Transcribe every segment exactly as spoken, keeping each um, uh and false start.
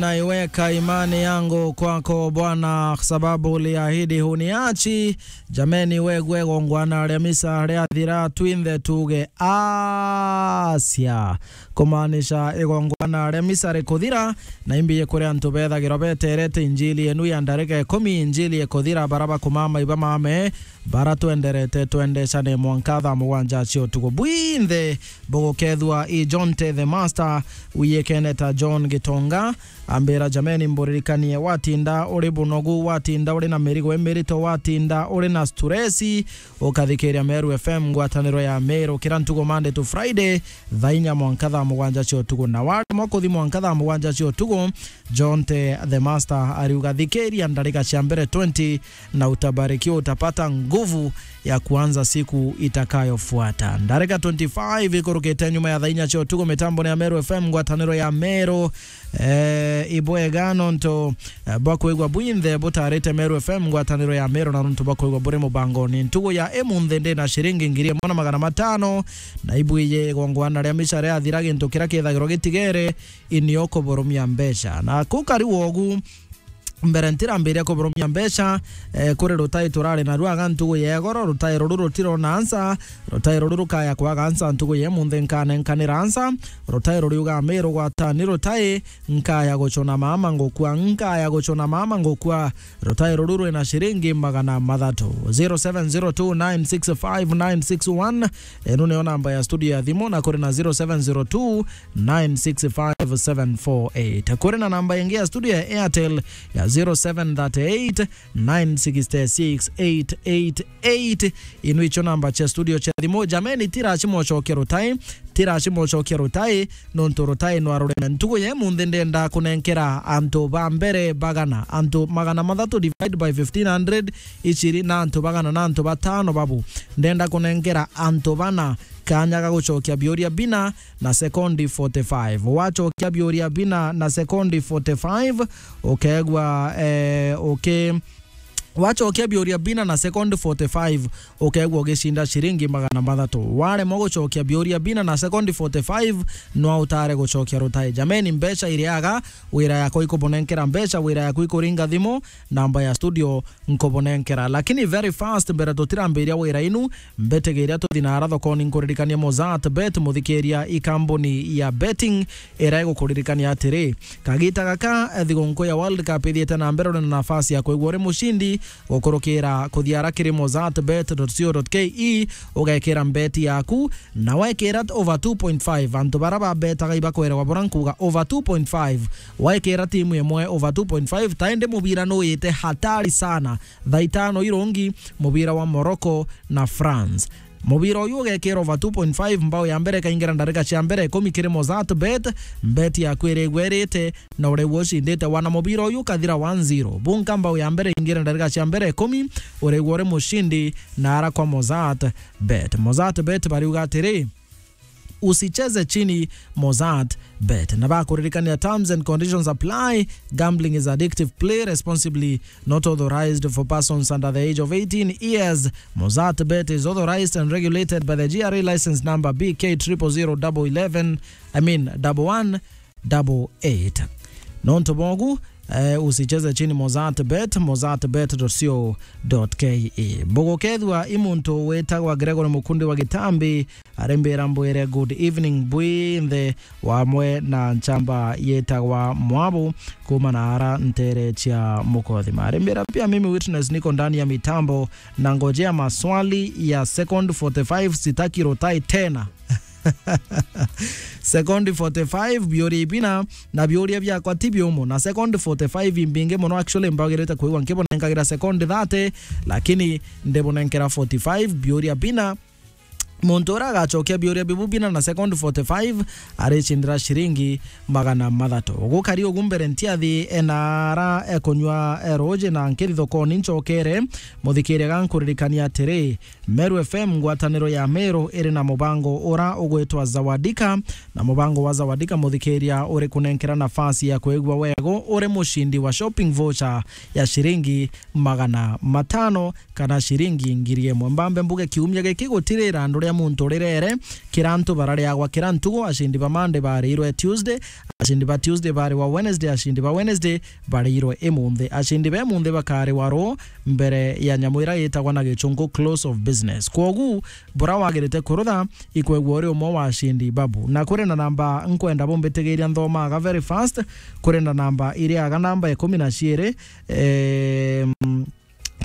Naiweka imani yangu kwako Bwana, sababu uliahidi huniachi. Jameni, wegwe igongwana ria misa riathira, twinthe tuge asia. Kumaanisha igongwana ria misa rikuthira, na imbiye kuri antu bethagirwa beterete injili yenu ya ndarika ikumi, injili ikuthira, bara bakumama iba mame, bara twenderete twendecane mwanka thaa mugwanja cia utuku. Bwinthe bugukethua i John Te the Master, wiyekene ta John Gitonga, ambira, jameni, mburirikanie, watinda uri bunogu, watinda uri na mirigo imirito, watinda uri na stress, ukathikiria Meru F M, ngwataniro ya Meru, kira ntugo Monday to Friday, thaa inya mwanka thaa mugwanja cia utuku. Na waremwa kuthi mwanka thaa mugwanja cia utuku, John Te the Master ariuga, thikiria ndarika cia mbere twenty, na utabarikiwa, utapata nguvu ya kuanza siku itakayofuata. Ndarika twenty-five ikurukite nyuma ya thaa inya cia utuku, mitamboni ya Meru F M, ngwataniro ya Meru. Eh, ibwega nontu, eh, bwa kwigua bwinthe butarite Meru F M, ngwataniro ya Meru, na nontu bwa kwigua buri mubangoni. Ntugu ya imunthi ndi na ciringi ngiri imwe na magana matano, na ibwiye igongwana ria misa riathira, gintu kiria kithagirwa gitigere, inio kuburumia mbeca. Na kukari wogu, mbere ntirambiria kuburumia mbeca, eh, kuri rutai turari naru aga ntugu ya igoro, rutai ruru rutirona ansa, rutai ruru rukaya kwaga ansa ntugu ya imunthi, nkanenkanira ansa, rutai ruriuga, Meru gwatani rutai, nkaya gucuna mama ngukua, nkaya gucuna mama ngukua, rutai ruru rwina ciringi magana mathatu. Zero seven zero two nine six five nine six one, enu niyo namba ya studio ya thimu, na kuri na zero seven zero two nine six five seven four eight. Kuri na namba ingi ya studio ya Airtel ya zero seven thirty eight nine six six eight eight eight. Inu icio namba cia studio cia thimu. Jameni, tiraci mocokia rutai, tiraci mocokia rutai, nontu rutai nwa rureme. Ntugu ya imunthi ndenda kunenkera antu ba mbere bagana, antu magana mathatu divide by fifteen hundred, iciri na antu bagana na antu batano babu. Ndenda kunenkera antu bana kanya ga gucokia biuria bina na sekondi forty-five. Wacokia biuria bina na sekondi forty-five, ukegwa, eh, uki-, wacokia biuria bina na sekondi forty-five, ukegwa ugicinda ciringi magana mathatu. Waremwa gucokia biuria bina na sekondi forty-five, nwa utare gucokia rutai. Jameni, mbeca iriaga, wira yakwa ikubunenkera mbeca, wira yakwa ikuringa thimu, namba ya studio nkubunenkera. Lakini very fast, mbere tutirambiria wira inu, mbitigiria tuthi nara thokoni, nkuririkanie Mozart Bet, muthikiria, i kambuni ya betting iria igukuririkania atiri, kagita gaka, eh, thigunku ya World Cup ithiite na mbere, uri na nafasi ya kwigua uri mucindi gukurukira kuthiara kiri mozart bet dot co dot ke, ugekira mbeti yaku, na wekira over two point five, antu bara babetaga ibakwerwa bura nkuga over two point five, wekira timu imwe over two point five, ta indi mubira nuyite hatari sana. Thaa itano irungi, mubira wa Morocco na France. Mubira uyu ugekira over two point five, mbao ya mbere ikaingira ndarika cia mbere ikumi kiri Mozart Bet, bet yaku irigwa irite, na urigwa ucindite. Wana mubira uyu ukathira one zero. Bunka mbao ya mbere ingira ndarika cia mbere ikumi, urigwa uri mucindi na ara kwa Mozart Bet. Mozart Bet bariuga atiri, usicheze chini, Mozart Bet. Na bakuririkania, terms and conditions apply. Gambling is addictive. Play responsibly. Not authorized for persons under the age of eighteen years. Mozart Bet is authorized and regulated by the G R A license number B K triple zero double eleven, I mean, double one double eight. Nontu bogu, eh, usicheze chini Mozart Bet, mozart bet dot co dot ke. Bugukethua i muntu witagwa Gregory Mukundi wa Gitambi, arimbira mbwire good evening bwinthe, wamwe na nchamba yitagwa Mwabu kuma na ara ntere cia Mukothima. Arimbira pia mimi Witness niko ndani ya mitambo na ngojea maswali ya second forty-five, sitaki rotai tena. Sekondi forty-five, biuria ibina, na biuria biakwa ti biumu. Na sekondi forty-five imbingi muno, actually, mbagirite kwigua nkibonenkagira sekondi thirty, lakini ndibonenkera forty-five, biuria bina. Muntu uria agacokia biuria bibu bina na sekondi forty-five aricindira ciringi magana mathatu. Gukari ugu mbere ntiathi enara ekunywa eruji na nkithi thokoni ncokere, muthikiria gankuririkania atiri, Meru F M, ngwataniro ya Meru, iri na mubango ura ugwitwa Zawadika, na mubango wa Zawadika, muthikiria, uri kunenkera nafasi ya kwigua wego uri mucindi wa shopping voucher ya ciringi magana matano kana ciringi ngiri imwe. Mbambe mbuge kiumia giki gutirira andu ya muntu rirere, kira antu barariagwa kira ntugu, acindi ba Monday bariirwe Tuesday, acindi ba Tuesday bariwa Wednesday, acindi ba Wednesday bariirwe imunthi. Acindi ba imunthi bakariwa ruu mbere ya nyamu ira yitagwa na gichungu close of business. Kwogu, bura wagirite kurutha, ikwegua uri umwe wa acindi babu. Na kuri na namba nkwenda bumbitigiria nthomaga very fast, kuri na namba iriaga namba ikumi na ciiri, em,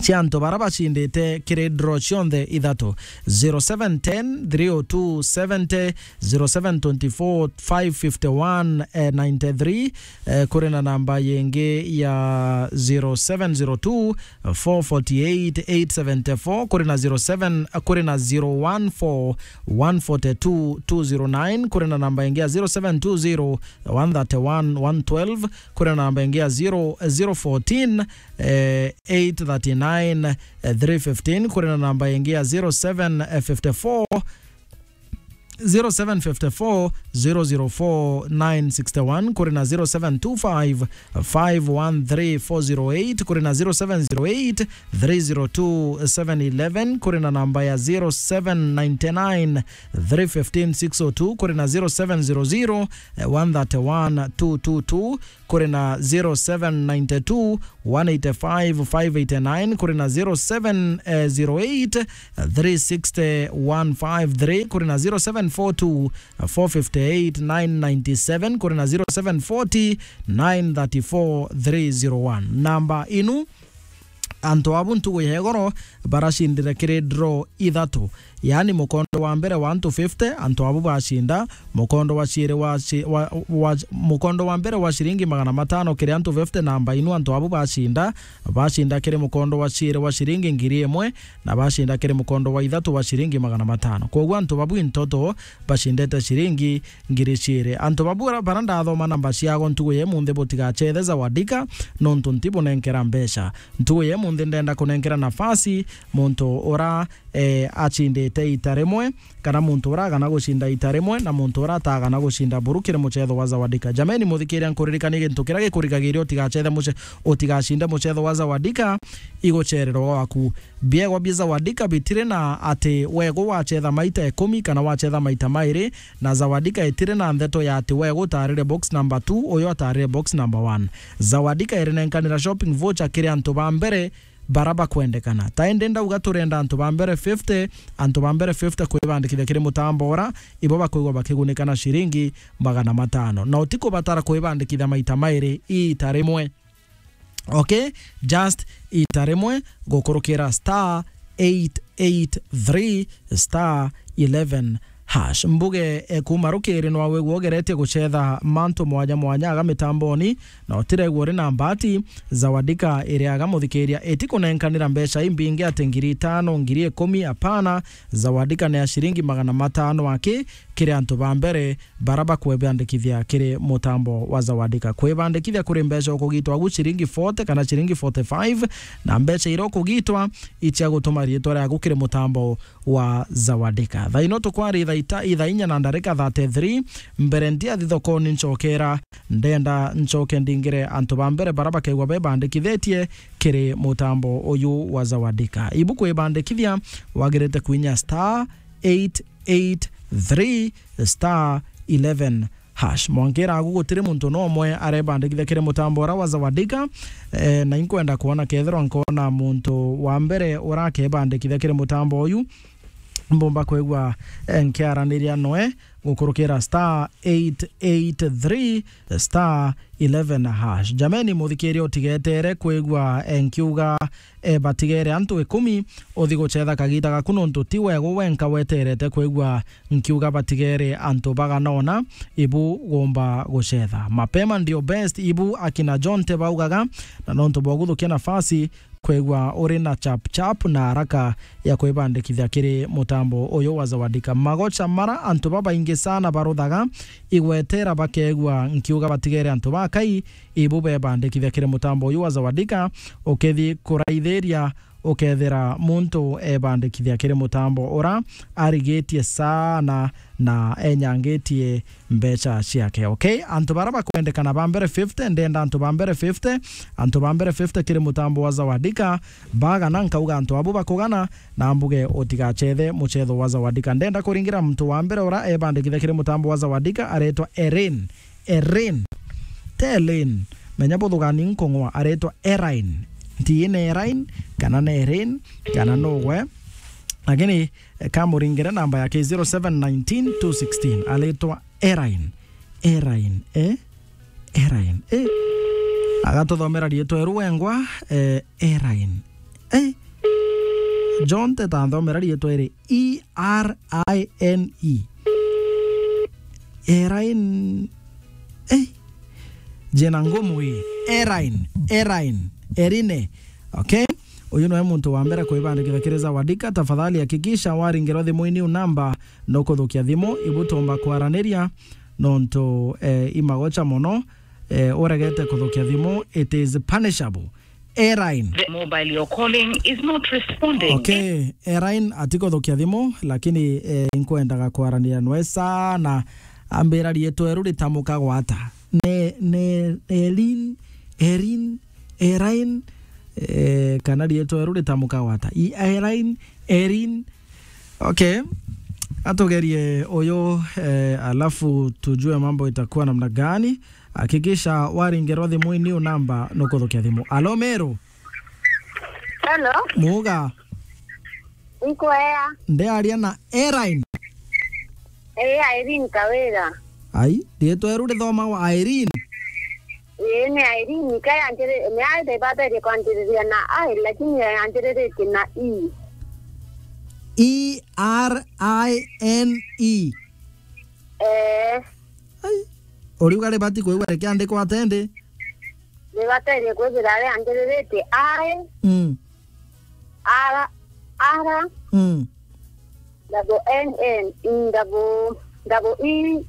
cia antu bara bacindite kiri draw cionthe ithatu, zero seven ten three oh two seventy, zero seven twenty four five fifty one ninety three, eh, kuri na namba yingi ya zero seven zero two four forty eight eight seventy four, kuri na zero seven, kuri na zero one four one forty two two zero nine, kuri na namba ingi ya zero seven two zero one thirty one one twelve, kuri na namba ingi ya zero zero fourteen, eh, eight thirty nine, eh, three fifteen, kuri na namba ingi ya zero seven fifty four zero seven fifty four zero zero four nine sixty one, kuri na zero seven two five five one three four zero eight, kuri na zero seven zero eight three zero two seven eleven, kuri na namba ya zero seven nine nine three fifteen six oh two, kuri na zero seven zero zero one thirty one two two two, kuri na zero seven nine two one eight five five eight nine, kuri na zero seven zero eight three sixty one five three, kuri na zero seven four two four fifty eight nine ninety seven, kuri na zero seven forty nine thirty four three zero one. Namba inu antu abu ntugu ya igoro baracindire kiri draw ithatu. Yaani, mukondo wa mbere wa antu fifty, antu abu bacinda, mukondo wa ciiri wa ci-, wa, wa, mukondo wa mbere wa ciringi magana matano kiri antu fifty, namba inu antu abu bacinda, bacinda kiri mukondo wa ciiri wa ciringi ngiri imwe, na bacinda kiri mukondo wa ithatu wa ciringi magana matano. Kwoguo antu babu intoto bacindete ciringi ngiri ciiri. Antu babu bara, bara ndathoma namba ciago ntugu ya imunthi, butigacethe Zawadika, nontu ntibunenkera mbeca. Ntugu ya imunthi ndenda kunenkera nafasi muntu ura, eh, acindite ita rimwe, kana muntu ura agana gucinda ita rimwe, na muntu ura atagana gucinda buru kiri mucetho wa Zawadika. Jameni, muthikiria, nkuririkanie gintu kiria gikurigagiria utigacethe muce-, utigacinde mucetho wa Zawadika, igucererwa gwaku. Biegwa bia Zawadika bitiri na ati wegu wacetha maita ikumi kana wacetha maita mairi, na Zawadika itiri na ndeto ya ati wegu utarire box number two, uyu atarire box number one. Zawadika irinenkanira shopping voucher kiri antu ba mbere bara bakwendekana. Ta indi ndauga turenda antu ba mbere fifty, antu ba mbere fifty kwibandikithia kiri mutambo ura, ibo bakwigua bakigunika na ciringi magana matano. Na utikubatara kwibandikithia maita mairi iita rimwe. Okay, just ita rimwe gukurukira star eight eight three star eleven hash. Mbuge, e, kuma rukiri nwa wigua ugeretie gucetha mantu mwanya mwanya aga mitamboni, na utiregua uri na mbati, Zawadika iriaga muthikiria iti kunenkanira mbeca imbingi ati ngiri itano, ngiri ikumi, apana. Zawadika ni ya ciringi magana matano aki kiri antu ba mbere bara bakwibandikithia kiri mutambo wa Zawadika. Kwibandikithia kuri mbeca ukugitwa agu ciringi forty kana ciringi forty five, na mbeca iria ukugitwa icia gutuma riitwa riaku kiri mutambo wa Zawadika. Thaa ino tukwari thaa ita-, ithaa inya na ndarika thirty three, mbere ndia thi thokoni ncokera, ndenda ncoke ndingire antu ba mbere bara bakegwa bebandikithitie kiri mutambo uyu wa Zawadika. Ibu kwibandikithia, wagirite kwinya star eight eight three star eleven hash. Mwankira agu gutiri muntu no umwe arebandikithia kiri mutambo ura wa Zawadika, eh, na inkwenda kwona kethirwa nkona muntu wa mbere urakebandikithia kiri mutambo uyu, mbumba kwigua, eh, nkiaraniria noe gukurukira star eight eight three star eleven hash. Jameni, muthikiria utigetere kwigua, eh, nkiuga, eh, batigere antu ikumi, uthi gucetha kagita gaku, nontu ti wegu wenka weterete kwigua nkiuga batigere antu bagana ona, ibu gumba gucetha. Mapema ndio best, ibu akina Jonte baugaga, na nontu bwa guthukia nafasi, kwigua uri na chap chap na haraka ya kwibandikithia kiri mutambo uyu wa Zawadika. Magocha mara antu babaingi sana baruthaga igwetera bakegua nkiuga batigere antu bakai, ibu bebandikithia kiri mutambo uyu wa Zawadika, ukithi kuraithiria ukethira muntu ebandikithia kiri mutambo ura arigitie sana na enyangitie mbeca ciake. Okay? Antu bara bakwendekana ba mbere fifty, ndenda antu ba mbere fifty, antu ba mbere fifty kiri mutambo wa Zawadika, bagana nkauga antu abu bakugana, na mbuge utigacethe mucetho wa Zawadika. Ndenda kuringira muntu wa mbere ura ebandikithia kiri mutambo wa Zawadika, aretwa Erin. Erin. Te Elin. Menya buthugani nkung'wa, aretwa Erain. Nti ni Erain, kana ni Erin, kana nugwe. Lakini, eh, kamuringire namba yake zero seven nineteen two sixteen. Aretwa Erain. Erain, eh? Erain, eh? Agatuthomera riitwa eru wengwa, eh, Erain. Eh? John, teta nthomera riitwa iri E R I N E. Erain. Eh? Jina ngumu ii. Erain. Erain. Erine. Okay? Uyu niwe muntu wa mbere kwibandikithia kiri Zawadika. Tafadhali hakikisha waringirwa thimu-ini u namba nukuthukia thimu, ibu tumba kwaraniria, nontu, eh, imagocha mono, eh, uregete kuthukia thimu, it is punishable. Erain. The mobile you're calling is not responding. Okay, Erain atikuthukia thimu, lakini, eh, inkwendaga kwaraniria nwe sana. Ambira riitwa eru ritamuka gwata. Ne, ne, Elin, Erin, Erain, eh, kana riitwa eru ritamuka gwata. I, Erain, Erin. Okay. Atugerie uyu, eh, alafu tujue mambo itakuwa namna gani. Hakikisha waringirwa thimu-ini u namba nukuthukia thimu. Alo, Meru? Hello. Muga? Nkwea. Ndiaria na Erain? Ii, Irene Kawira. Ai, riitwa eru rithomagwa Irene? Ii, ni Irene, ka yanjiri-, ni aithe ibaberie kwanjiriria na I, lakini yanjiriritie na E. E R I N E. Ee. Ai. Uriuga ribati kwigua rikiandikwa atendi? Ribaterie kwithira rianjiriritie I, Mm. R, R, Mm. double N N, double, double E,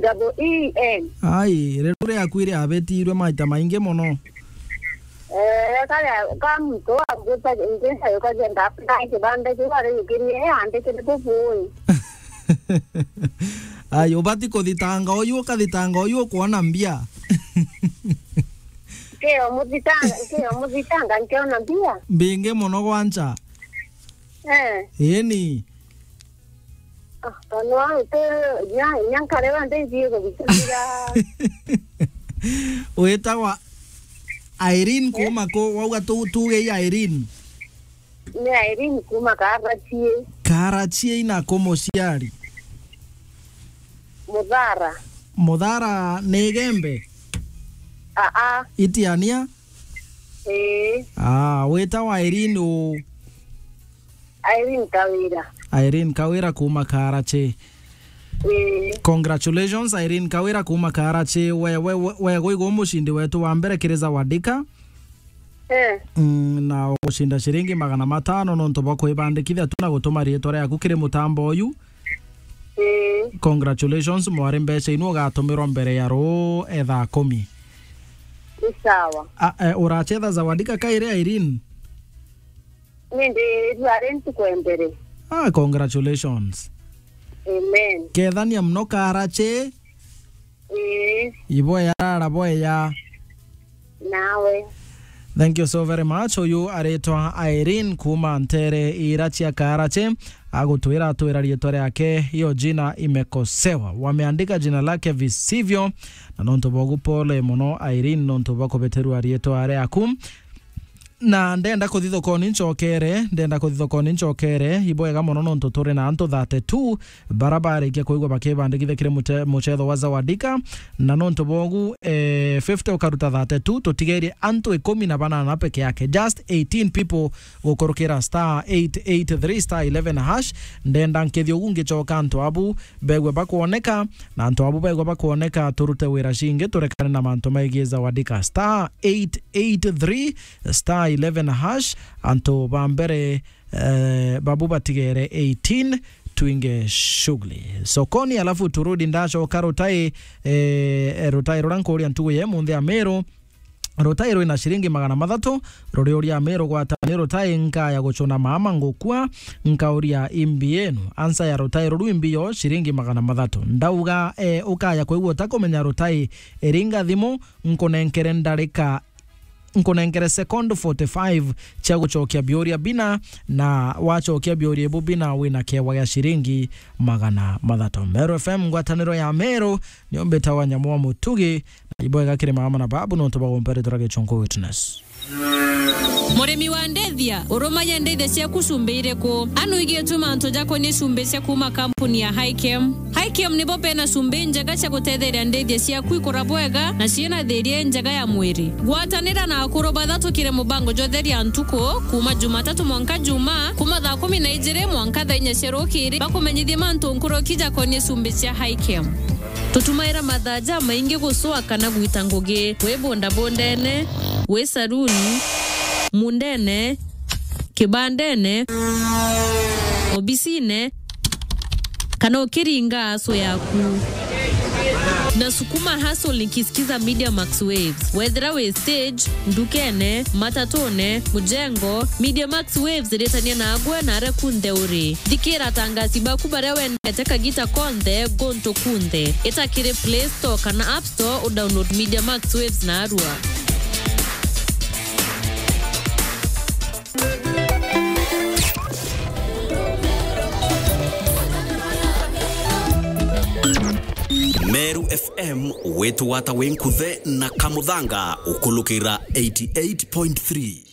double E N. Ai, riu riaku iriabitirwe maita maingi mono. Eh, karia ka muntu angwita nginsa yukagenda apply kibanda kiu arijukirie, eh, andikire bubui. Ai, ubati kuthitanga uyu, ukathitanga uyu ukwona mbia. Nkio muthitanga, nkio muthitanga, nkiona mbia. Mbingi mono gwancha. Eh. Ii ni. Ah, kanwa, te, nya, nya nkare wa ndeithie kuthikira. Witagwa Irene kuma ku, wauga tu, tuge i Irene. Ni Irene kuma Karachie. Karachie ina ku muciari? Muthara. Muthara ni Igembe? Aa. Itiania? Ii. Ah, witagwa Irene u? Irene Kawira. Irene Kawira kuma Karachi. Ii. Congratulations, Irene Kawira kuma Karachi. We, we, we, we gwigo mucindi wetu wa mbere kiri Zawadika. Eh. Mm, na ugucinda ciringi magana matano nontu bwa kwibandikithia tu na gutuma riitwa riaku kiri mutambo uyu. Ii. Congratulations, mwari, mbeca inu ugatumirwa mbere ya ruu, eh, thaa kumi. Ni sawa. A, eh, urachetha Zawadika kairi, Irene? Ni ndi rua ri ntuku ya mbere. Ah, congratulations. Amen. Kethania muno Karachi. Ii. Iboya rara boya. Nawe. Thank you so very much. Uyu aritwa Irene kuma ntere ira cia Karachi. Agutwira, atwira riitwa riake, hiyo jina imekosewa. Wameandika jina lake visivyo. Na nontu bogu pole mono Irene nontu bwa kubeterua riitwa riaku. Na ndenda kuthi thokoni ncokere, ndenda kuthi thokoni ncokere, ibwega mono nontu turi na antu thirty-two bara barikia kwigua bakibandikithia kiri mute-, mucetho wa Zawadika, na nontu bogu, eh, fifty ukaruta thirty-two, tutigerie antu ikumi na banana peke yake, just eighteen people gukurukira star eight eight three star eleven hash. Ndenda nkithia ugu ngicoka antu abu begwe bakwoneka, na antu abu begwe bakwoneka, turute wira cingi, turekane na mantu megie Zawadika. Star eight eight three star eleven hash, antu ba mbere, eh, babu batigere eighteen, twinge shughuli sokoni, alafu turudi ndacoka rutai, eh, rutai rura nkuria ntugu ye munthi ya Meru. Rutai rwina ciringi magana mathatu, ruriuria Meru gwata ni rutai nkaya gucuna mama ngukua, nkauria imbi yenu, ansa ya rutai ruru imbi yo ciringi magana mathatu. Ndauga, eh, ukaya kwigua utakumenya rutai, iringa thimu, nkunenkere ndarika, nkunenkere second forty-five cia gucokia biuria bina, na wacokia biuria ibu bina wina kiewa gia ciringi magana mathatu. Meru F M, ngwataniro ya Meru, nio mbitawa Nyamu wa Mutugi, na ibwega kiri mama na babu nontu bagumperetera Gichunku Witness. Murimi wa ndithia, urumagia ndithia ciaku cumbi iriku? Anu igitwe mantu jakonie cumbi cia kuma kampuni ya Hikem. Hikem nibo bena cumbi njega cia gutetheria ndithia ciaku ikura bwega na ciina thiria njega ya mwiri. Gwatanira na akuru bathatukire mubango jwa Theria Ntuku, kuma Jumatatu mwanka Juma, kuma thaa kumi na ijiri mwanka thaa inya cia rukiri, bakumenyithie mantu nkuruki jakonie cumbi cia Hikem. Tutumaira mathaa jamaingi gucua kana gwita ngugi, wi bundabundene, wi saruni, mundene, kibandene, obisine, kana ukiringa aso yaku. Na sukuma hustle nikisikiza Media Max Waves. Wethira wi stage, ndukene, matatune, mujengo, Media Max Waves iritania na agwe na aria kunthe uri. Thikira atangasi baku baria wendete kagita konthe, guntu kunthe. Ita kiri Play Store kana App Store udownload Media Max Waves narua. Meru F M, witwata wi nkuthe na kamuthanga ukulukira eighty-eight point three.